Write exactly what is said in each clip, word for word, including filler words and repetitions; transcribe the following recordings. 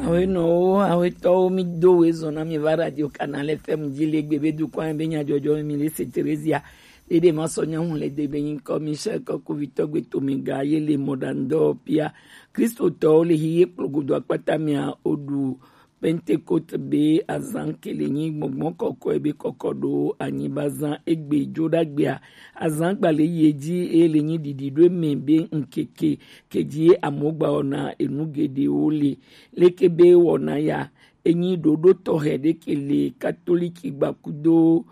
Awenɔwo, awetɔwo, mi do we zɔn na mi va Radio Canal F M ji le gbe be dukɔn be nyajɔjɔ mi le se Theresia. Dede ma sɔ nyahu le de be nyi kɔ Michel kɔ kuvitɔ gbe to mi ga ye le mɔdandɔ pia. Kristotɔwo le hi ye kplogodo akpata mia odu Pentecote be azan ke le nyi gbɔngbɔn kɔkɔe be kɔkɔ do anyi ba zan egbe jo dagbea. Azan gba le ye ji e le nyi didi do me be nkeke ke ji ye amogba ona enu gedewo le. Leke be wɔna ya, enyi ɖoɖo tɔxɛ ɖe ke le katoliki gbakudo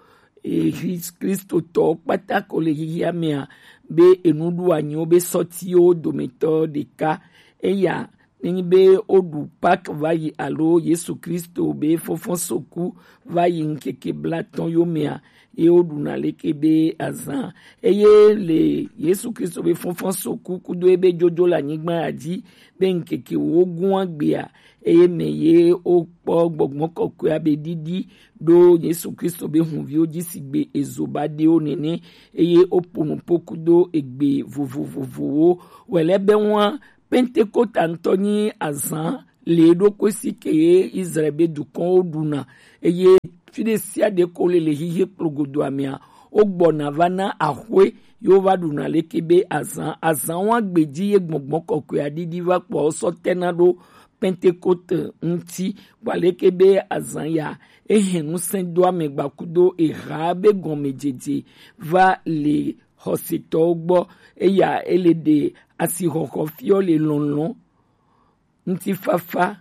e, Kristotɔ kpata ko le xixia mea, be enuɖuanyiwo be sɔtiwo dometɔ ɖeka. Eya nenyi be woɖu Pâques va yi alo Yesu Kristo be fɔfɔsoku va yi ŋkeke blatɔn yo mea, ye woɖuna leke be azan. Eye le Yesu Kristo be fɔfɔsoku kudo ebe jojo le anyigba ya ji be ŋkeke wo gún agbea, eye me ye wokpɔ gbɔgbɔ kɔkɔea be ɖiɖi ɖo Yesu Kristo be hunviwo ji sigbe ezo ba ɖewo nene, eye wopo nupo kudo egbe vovovovowo. Wɛlɛ be ŋua Pentekota ŋutɔ nyi azan le ɖokui si ke ye Israel be dukɔnwo ɖuna, eye fi ɖe sia ɖe ko le le xixi kplogodoa mea, wogbɔna va na axwe ye wova ɖuna leke be azan. Azan wa gbeji ye gbɔgbɔ kɔkɔe aɖiɖi va kpɔ sɔ tena ɖo Pentekote ŋuti. Kpɔ aleke be azan ya ehe ŋusẽ do ame gbakudo eha be gɔmejeje va le xɔsetɔwo gbɔ. Eya ele ɖe asixɔxɔ fiɔ le lɔlɔ̃, ŋutifafa,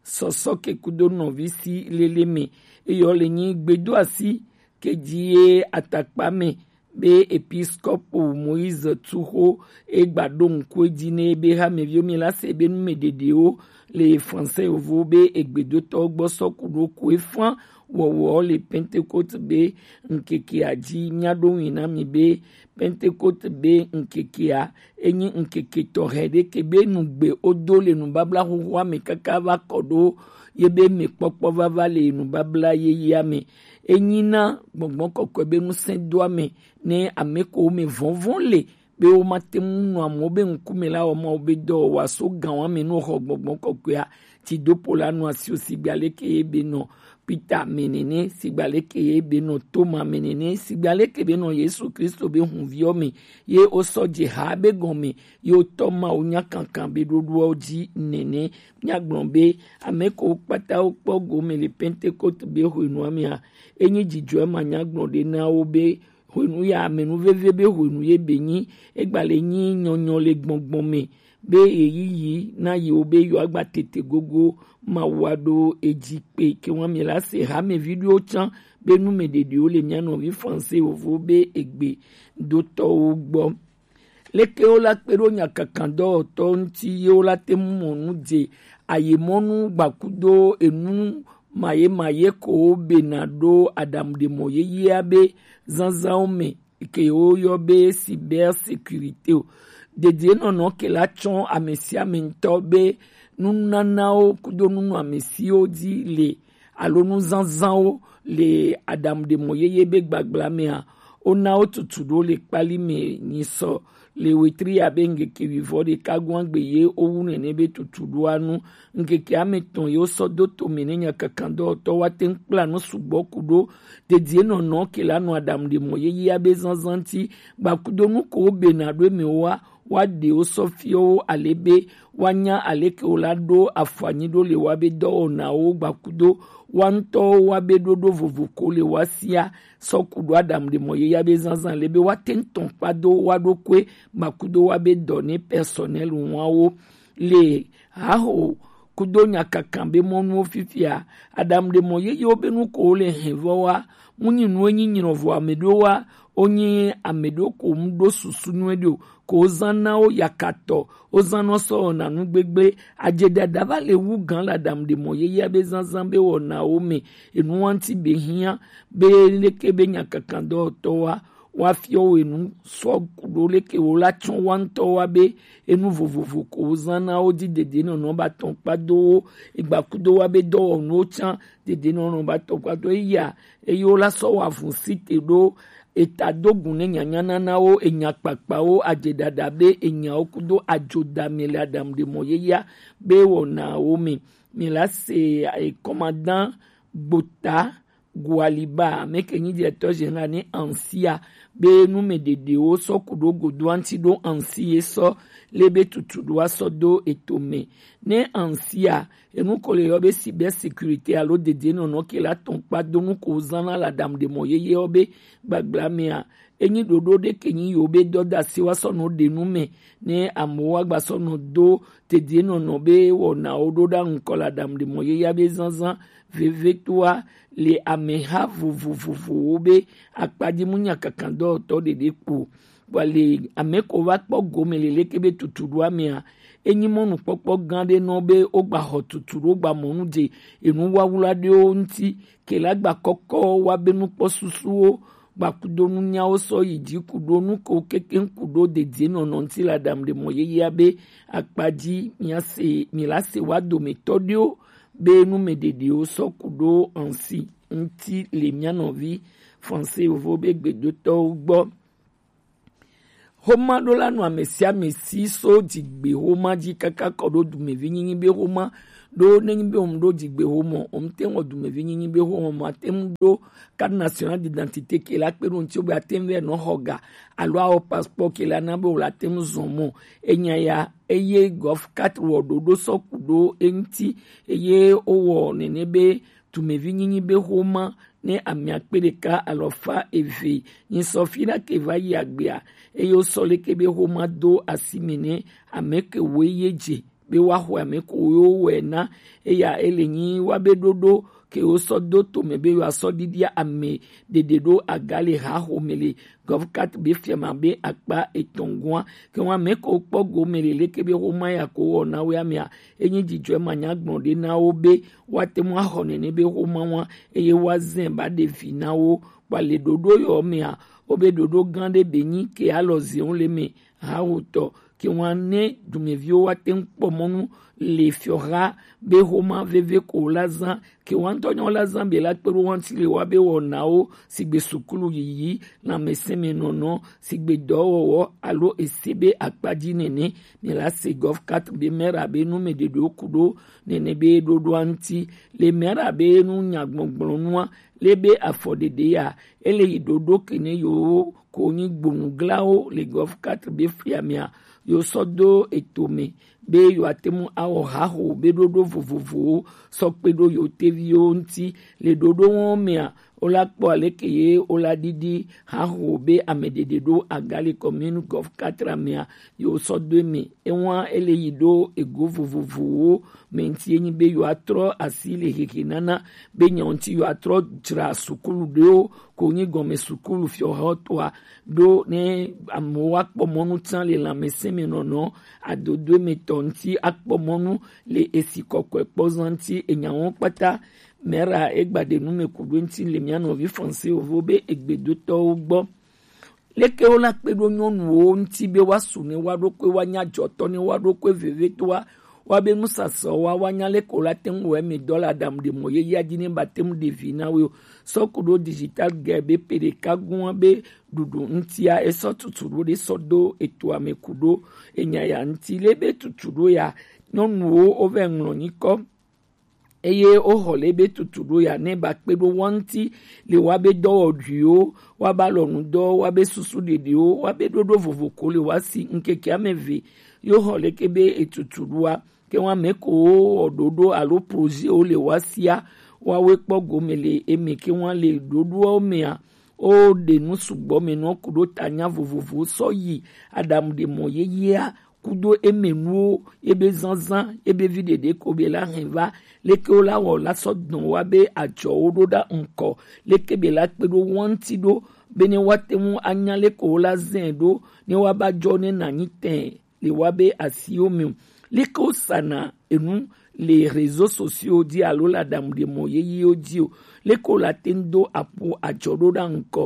sɔsɔ ke kudo nɔvi si lele me. Eyɔ le nyi gbedo asi ke ji ye atakpa me be episkopo Moïse Tuxo e gba ɖo ŋku edzi ne be hameviwo mi la se be nu me ɖeɖewo le français yovo be egbedotɔwo gbɔ sɔ ku ɖo ku efan wɔwɔ le Pentecote be ŋkekea ji. Mia ɖo ŋui na mi be Pentecote be ŋkekea enyi ŋkeke tɔxɛ ɖe ke be nugbe wodo le nubabla xoxoa me kaka va kɔ ɖo ye be mekpɔkpɔ vava le nubabla yeyea me. Enyi na gbɔgbɔ kɔkɔe be ŋusẽ do ame ne ame ko me vɔvɔn le be womate ŋu nɔ amewo be ŋkume la wɔ Mawu be dɔ wa so gan wa me no xɔ gbɔgbɔ kɔkɔea ti dopo la nɔ asio sigba leke ye be nɔ Peter me nene, sigba leke ye be nɔ Toma me nene, sigba leke be nɔ Yesu Kristo be hunviɔ me ye wosɔ dze ha be gɔme ye wotɔ Mawu nya kankan be ɖoɖoawo ji nene. Miagblɔ be ame ko kpata wokpɔ gome le Pentecote be hwenua mea, enyi dzidzɔe ma nya gblɔ ɖe na wo be hwenu ya ame nu veve be hwenu ye be nyi, egba le nyi nyɔnyɔ le gbɔngbɔn me be yeyiyi na yiwo be yewoagba tete gogo Mawu aɖo edzi kpe. Ke wa mi la se hame viɖiwo tsã be nu me ɖeɖiwo le mia nɔvi français wovo be egbe dotɔwo gbɔ. Leke wo la kpe ɖo nyakakandɔwɔtɔ ŋuti ye wo la te ŋu mɔ nu dze ayemɔnu gbakudo enu maye maye ko wo bena ɖo aɖaŋuɖemɔ yeyea be zazãwo me ke woyɔ be cybersécurité o. Dedienɔnɔ ke la tsɔ ame sia ame ŋutɔ be nunanawo kudo nunɔamesiwo dzi le alo nuzazãwo le aɖaŋuɖemɔ yeye be gbagbla mea, wona wo tutu ɖo le kpali me nyisɔ le wetri ya be ŋkeke wivɔ ɖeka gɔ̃a gbe ye wowu nene be tutu ɖoa nu. Ŋkeke ame tɔn ye wosɔ do to me ne nyakakandɔwɔtɔ wa te ŋu kpla nu sugbɔ ku ɖo dedienɔnɔ ke la nɔ aɖaŋuɖemɔ yeyea be zazã ŋuti gbakudo nu ko wo bena ɖo emewoa, wa ɖe wo sɔ fiɔ wo ale be wa nya aleke wo la ɖo afɔ anyi ɖo le wa be dɔwɔnawo gbakudo wa ŋutɔwo wa be ɖoɖo vovo ko le wa sia sɔ ku ɖo aɖaŋuɖemɔ yeyea be zazã le be wa te ŋu tɔn kpa do wa ɖokui gbakudo wa be dɔ ne personnel wawo le haho kudo nyakakan be mɔnuwo fifia. Aɖaŋuɖemɔ yeyewo be nu ko wo le hɛn vɔ wa mu nyi nu enyi nyrɔ vɔ ame ɖewo wa wonyi ame ɖewo ko mu ɖo susu nyuie ɖe o, ko wozã na wo yakatɔ, wozã nɔ sɔ wɔna nu gbegble. Adze ɖaɖa va le wu gã le aɖaŋuɖemɔ yeyea be zazã be wɔnawo me. Enu wa ŋuti be hiã be leke be nyakakandɔwɔtɔ wa wa fiɔ wo enu sɔ ku ɖo leke wo la tsɔ wa ŋutɔ wa be enu vovovo ko wozã na wo dzi dedienɔnɔ ba tɔn kpa do wo egbakudo wa be dɔwɔnuwo tsã dedienɔnɔ ba tɔn kpa do eya eye wo la sɔ wa vun site ɖo eta do gun ne nyanyananawo, enyakpakpawo, adzeɖaɖa be enyawo kudo adzodame le aɖaŋuɖemɔ yeyea be wɔnawo me. Mi la se e, commandant Gbota Gualiba, ameke nyi directeur général ne ansia, be nu me ɖeɖewo sɔ ku ɖo godo anti ɖo ansi ye sɔ le be tutu ɖo asɔ do eto me. Ne ansia, enu ko le yɔ be cyber sécurité alo dede nɔnɔ ke la tɔn kpa do nu ko zan na la dam de mɔ yeye ɔ be gbagbla mea, enyi ɖoɖo ɖe ke nyi yo be dɔdasi wa sɔ nɔ ɖe nu me, ne amewo wa gba sɔ nɔ do tedie nɔnɔ be wɔnawo ɖo ɖa ŋkɔ la dam ɖe mɔ yeya be zanzan vevetoa le ameha vovovovowo be akpaji mu nya kankan dɔwɔtɔ ɖeɖe kpo. Bɔ le ame ko va kpɔ gome le leke be tutu ɖo amea, enyi mɔnukpɔkpɔ gã ɖe nɔ be wogba xɔ tutu ɖo gba mɔnu dze enu wawla ɖewo ŋuti ke la gba kɔkɔ wa be nukpɔ susuwo gba kudo nunyawo sɔ yi dzi kudo nuko kekeŋ kudo dedie nɔnɔ ŋuti la dam ɖe mɔ yeyea be akpa dzi mia se mi la se wa dometɔ ɖewo be nu me ɖeɖewo sɔ kudo ansi ŋuti le mia nɔvi français yovo be gbedotɔwo gbɔ. Xoma ɖo la nɔ ame sia ame si so dzigbe xoma dzi kaka kɔ ɖo dumevi nyinyi be xoma ɖo nenyi be wɔm ɖo dzigbe xoma wɔm te ŋɔ dumevi nyinyi be xoma ma te ŋu ɖo carte nationale d'identité ke la kpe ɖo ŋuti be ate ŋu vɛ nɔ xɔ ga alo awɔ passeport ke la na be wòle ate ŋu zɔn mɔ. Enya ya eye gɔf quatre wɔ ɖoɖo sɔ ku ɖo eŋuti eye wowɔ nene be dumevi nyinyi be xoma ne amia kpe ɖeka alɔfa eve nyi sɔ fi ɖa ke va yi agbea eye wosɔ leke be xoma do asi me ne ame ke woe ye dze be woaxɔe ame ko yewo wɔe na. Eya ele nyi wa be ɖoɖo ke wosɔ do tome be yewoasɔ ɖiɖia ame ɖeɖe ɖo aga le haxome le gɔfkat be fiama be akpa etɔn gɔa ke wa ame ko kpɔ gome le leke be xoma ya ko wɔ na we amea enyi dzidzɔe manya gblɔ ɖe na wo be woate ŋu axɔ nene be xoma wa eye woazɛ ba ɖe vi na wo. Kpa le ɖoɖo yɔ mea wo be ɖoɖo gã ɖe be nyi ke alɔ ziwo le me hawutɔ ke wa ne dumeviwo wa te ŋu kpɔ mɔnu le fiɔha be xoma veve ko la zã ke wa ŋutɔ nyɔ la zã be la kpe ɖo wa ŋuti le wa be wɔnawo sigbe sukulu yiyi lãmesẽmenɔnɔ sigbe dɔwɔwɔ alo ese be akpa dzi nene. Mi la se gɔf quatre be mɛra be nu me ɖeɖewo ku ɖo nene be ɖoɖoa ŋuti le mɛra be nu nyagbɔgblɔ nua le be afɔ ɖeɖe ya ele yi ɖoɖo ke ne yewo ko nyi gbonuglawo le gɔf quatre be flia mea yewo sɔ do eto me be yewoate ŋu awɔ haxo be ɖoɖo vovovowo sɔ kpe ɖo yewo teviwo ŋuti le ɖoɖo wɔn mea wola kpɔ aleke ye wola ɖiɖi haxo be ame ɖeɖe ɖo aga le commune gɔf quatre mea yewo sɔ do eme ewa ele yi ɖo ego vovovowo me ŋuti enyi be yewoatrɔ asi le hehe nana be nya ŋuti yewoatrɔ dzra sukulu ɖewo ko nyi gɔme sukulu fiɔhɔtɔa ɖo ne amewo wa kpɔ mɔnu tsã le lãmesẽmenɔnɔ adodo emetɔ ŋuti akpɔ mɔnu le esi kɔkɔe kpɔ zã ŋuti enyawo kpata. Mɛra egba ɖe nu me ku ɖo ŋuti le mia nɔvi français wo be egbedotɔwo gbɔ. Leke wo la kpe ɖo nyɔnuwo ŋuti be wa su ne wa ɖokui wa nya dzɔtɔ ne wa ɖokui vevetoa wa be nusasɔ wa wa nya leke wo la te ŋu wɔ eme dɔ le aɖaŋu ɖe mɔ yeyea dzi ne ba te ŋu ɖe vi na wo sɔ ku ɖo digital ge be pe ɖeka gua be ɖuɖu ŋutia esɔ tutu ɖo ɖe sɔ do etoa me ku ɖo enya ya ŋuti le be tutu ɖo ya nyɔnuwo wo vɛ ŋlɔ nyikɔ eye woxɔ le be tutu ɖo ya ne ba kpe ɖo wa ŋuti le wa be dɔwɔɖuiwo wa ba lɔnu dɔ wa be susu ɖeɖewo wa be ɖoɖo vovo ko le wa si ŋkeke ame ve yo xɔ leke be etutu ɖoa ke wa me ko wɔ ɖoɖo alo projet wo le wa sia wa we kpɔ gome le eme ke wa le ɖoɖoawo mea wo ɖe nu sugbɔ me nɔ ku ɖo ta nya vovovo sɔ yi aɖamu ɖe mɔ yeyea kudo emenuwo ebe zanzan ebe vi ɖeɖe ko be la hɛn va leke wo la wɔ la sɔ dɔn wa be adzɔwo ɖo ɖa ŋkɔ leke be la kpe ɖo wa ŋuti ɖo be ne wa te ŋu anya leke wo la zɛ ɖo ne wa ba dzɔ ne na nyi tɛn le wa be asiwo me o leke wo sana enu le réseaux sociaux dzi alo le aɖamu ɖe mɔ yeyewo dzi o leke wo la te ŋu do aƒo adzɔ ɖo ɖa ŋkɔ